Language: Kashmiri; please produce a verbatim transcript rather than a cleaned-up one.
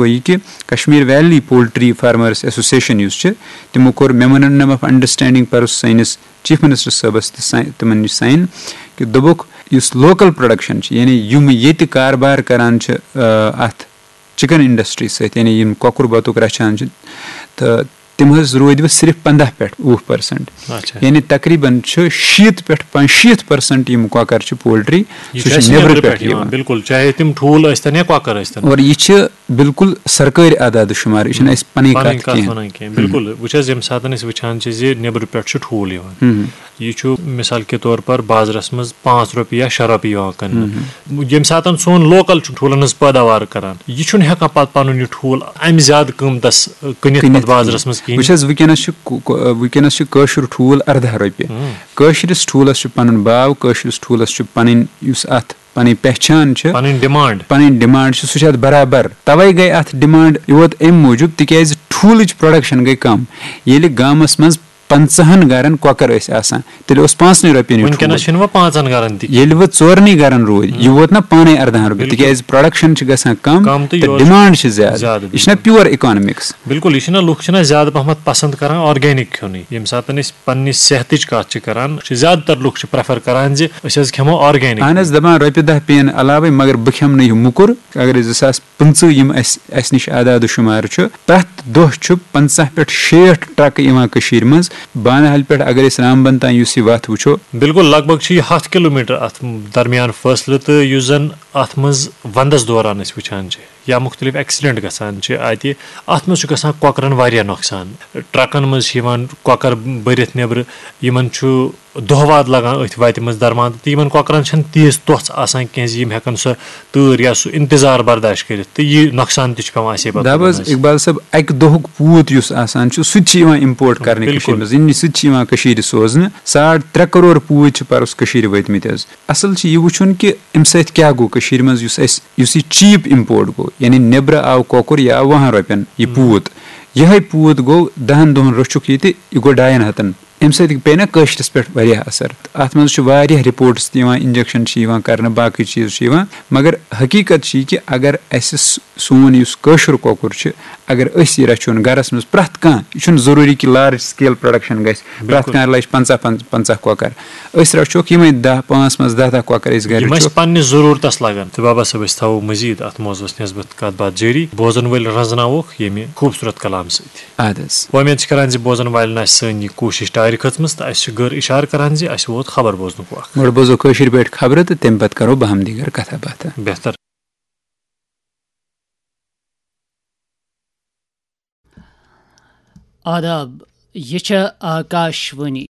گوٚو یہِ کہِ Kashmir valley poultry farmers association یُس چھِ، تِمو کوٚر میمورنڈم آف انڈرسٹینڈنگ پرُس سٲنِس چیف منسٹر صٲبس تہِ سا-، تِمن نِش ساین، کہِ دوٚپُکھ یُس لوکل پروڈکشن چھِ، یعنی یِم ییٚتہِ کاربار کران چھِ، آ، اتھ چکن انڈسٹری سۭتۍ، یعنی یِم کۄکُر بطُک رچھان چھِ، تہٕ تِم حظ روٗدۍ وۄنۍ صرف پنٛداہ پٮ۪ٹھ وُہ پرسنٹ۔ اچھا۔ یعنی تقریباً چھُ شیٖتھ پٮ۪ٹھ پنٛژ-، شیٖتھ پرسنٹ یِم کۄکر چھِ پولٹری، یہِ سُہ چھُ چھُ اَسہِ نیٚبرٕ نیٚبرٕ پٮ۪ٹھ پٮ۪ٹھ یِوان، یِوان۔ بِلکُل، چاہے تِم ٹھوٗل ٲسۍ تن یا کۄکر ٲسۍ تن۔ اور یہِ چھِ بالکل سرکٲرۍ اعداد و شمار، یہِ چھِنہٕ اَسہِ پنٕنۍ پنٕنۍ کتھ کتھ کینٛہہ۔ ونان کینٛہہ، بِلکُل۔ وٕچھ حظ، ییٚمہِ ساتن أسۍ وٕچھان چھِ زِ نیٚبرٕ پٮ۪ٹھ چھُ ٹھوٗل یِوان، ہم۔ یہِ چھُ مثال کے طور پر بازرس منٛز پانٛژھ رۄپیہِ یا شےٚ رۄپیہِ یِوان کٕننہٕ۔ ییٚمہِ ساتن سون لوکل چھُ ٹھوٗلن ہٕنٛز پٲداوار کران، یہِ چھُنہٕ ہٮ۪کان پتہٕ پنُن یہِ ٹھوٗل امہِ زیادٕ قۭمتس، ٲ، کٕنِتھ پتہٕ بازرس منٛز کِہیٖنۍ۔ وٕچھ حظ، وٕنکیٚنس چھُ کو-، کو-، وٕنکیٚنس چھُ کٲشُر ٹھوٗل ارداہ رۄپیہِ۔ ہم۔ کٲشرِس ٹھوٗلس چھُ پنُن باو، کٲشرِس ٹھوٗلس چھُ پنٕنۍ، یُس اتھ پنٕنۍ پہچان چھِ، پنٕنۍ ڈیمانڈ۔ پنٕنۍ ڈیمانڈ چھِ، سُہ چھُ اتھ برابر۔ توے گٔے اتھ ڈیمانڈ یوت امہِ موٗجوٗب، تِکیازِ ٹھوٗلٕچ پروڈکشن گٔے کم۔ ییٚلہِ گامس منٛز پنٛژاہن گرن کۄکر ٲسۍ آسان، تیٚلہِ اوس پانٛژنٕے رۄپین یہِ وٕنکیٚنس ٹھوٗل۔ چھِنہٕ وۄنۍ پانٛژن گرن تہِ۔ ییٚلہِ وۄنۍ ژورنٕے گرن روٗدۍ، یہِ ووت نہ پانے ارداہن رۄپین، بِلکُل۔ تِکیازِ پروڈکشن چھِ گژھان کم کم تہٕ تہٕ یورٕ چھُ ڈیمانڈ چھِ زیادٕ۔ زیادٕ، یہِ چھُنہ پیور اِکانمکس۔ بِلکُل، یہِ چھِنہ لُکھ چھِنہ زیادٕ پہمتھ پسند کران آرگینک کھیوٚنُے۔ ییٚمہِ ساتہٕ أسۍ پننہِ صحتٕچ کتھ چھِ کران، چھِ زیادٕ تر لُکھ چھِ پریفر کران زِ أسۍ حظ کھٮ۪مو آرگینک۔ اہن حظ، دپان رۄپیہِ دہ پیٚیَن علاوے، مگر بہٕ کھٮ۪مہٕ نہٕ یہِ موٚکُر۔ اگر أسۍ زٕ ساس پٕنٛژٕہ یِم اَسہِ، اَسہِ نِش اعداد و شُمار چھُ، پرٛٮ۪تھ دۄہ چھُ پنٛژاہ پٮ۪ٹھ شیٹھ ٹرکہٕ یِوان کٔشیٖرِ منٛز۔ بانہل پٮ۪ٹھ اگر أسۍ رامبن تام یُس یہِ وتھ وٕچھو، بِلکُل، لگ بگ چھِ یہِ ہَتھ کِلوٗ میٖٹر اَتھ درمیان فٲصلہٕ، تہٕ یُس زَن اَتھ منٛز وَندَس دوران أسۍ وٕچھان چھِ یا مُختٔلِف ایکسیڈنٹ گژھان چھِ اَتہِ، اَتھ منٛز چھُ گژھان کۄکرَن واریاہ نۄقصان۔ ٹرکَن منٛز چھِ یِوان کۄکر بٔرِتھ نیٚبرٕ، یِمَن چھُ دۄہ واد لگان أتھۍ وتہِ منٛز درمان، تہٕ یِمن کۄکرن چھنہٕ تیٖژ تۄژھ آسان کینٛہہ زِ یِم ہٮ۪کن سۄ تۭر یا سُہ انتظار برداشت کٔرِتھ، تہٕ یہِ نۄقصان تہِ چھُ پٮ۪وان اَسے پتہٕ دَپ حظ، تُلُن حظ۔ اقبال صٲب، اَکہِ دۄہُک پوٗت یُس آسان چھُ، سُہ تہِ چھُ یِوان امپورٹ کرنہٕ بِلکُل۔ کٔشیٖرِ منٛز، یعنی سُہ تہِ چھُ یِوان کٔشیٖرِ سوزنہٕ۔ ساڑ ترٛےٚ کرور پوٗتۍ چھِ پرُس کٔشیٖرِ وٲتمٕتۍ حظ۔ اصل چھُ یہِ وٕچھُن کہِ امہِ سۭتۍ کیٛاہ گوٚو کٔشیٖرِ منٛز، یُس اَسہِ، یُس یہِ چیٖپ امپورٹ گوٚو، یعنی نیٚبرٕ آو کۄکُر، یہِ آو وُہن رۄپین یہِ پوٗت، یِہوٚے پوٗت گوٚو دَہن دۄہن رٔچھُکھ یہِ تہٕ یہِ گوٚو ڈاین ہتن۔ امہِ سۭتۍ پیٚیہِ نہ کٲشرِس پٮ۪ٹھ واریاہ اثر۔ تہٕ اتھ منٛز چھِ واریاہ رپورٹس تہِ یِوان، انجیکشن چھِ یِوان کرنہٕ، باقٕے چیٖز چھِ یِوان، مگر حقیٖقت چھِ یہِ کہِ اگر اسہِ س-، سون یُس کٲشُر کۄکُر چھُ، اگر أسۍ یہِ رچھون گرس منٛز پرٛٮ۪تھ کانٛہہ، یہِ چھُنہٕ ضروٗری کہِ لارج سکیل پروڈکشن گژھِ، پرٛٮ۪تھ بِلکُل۔ کانٛہہ لچھ پنٛژاہ، پنٛژاہ کۄکر، أسۍ رچھوکھ یِمے دَہ، پانٛژھ منٛز دَہ دَہ کۄکر أسۍ گرِ یِم اَسہِ رچھوکھ۔ پننہِ ضروٗرتس لگن۔ تہٕ بابا صٲب، أسۍ تھاوو مزید اتھ موضوعس نسبت کتھ باتھ جٲری۔ بوزن وٲلۍ رزناووکھ ییٚمہِ خوٗبصوٗرت کلام سۭتۍ۔ اَدٕ حظ۔ وۄمید چھِ کران زِ بوزن والٮ۪ن آسہِ سٲنۍ یہِ کوٗشش ٹارِ کھٔژمٕژ تہٕ اَسہِ چھِ گٔر اِشارٕ کران زِ اَسہِ ووت خبر بوزنُک وق۔ گۄڈٕ بوزو کٲشِر پٲٹھۍ خبرٕ تہٕ تَمہِ پتہٕ کرو باہم دیٖگر کتھا باتھا۔ بہتر۔ آداب، یہِ چھےٚ آکاش وانی۔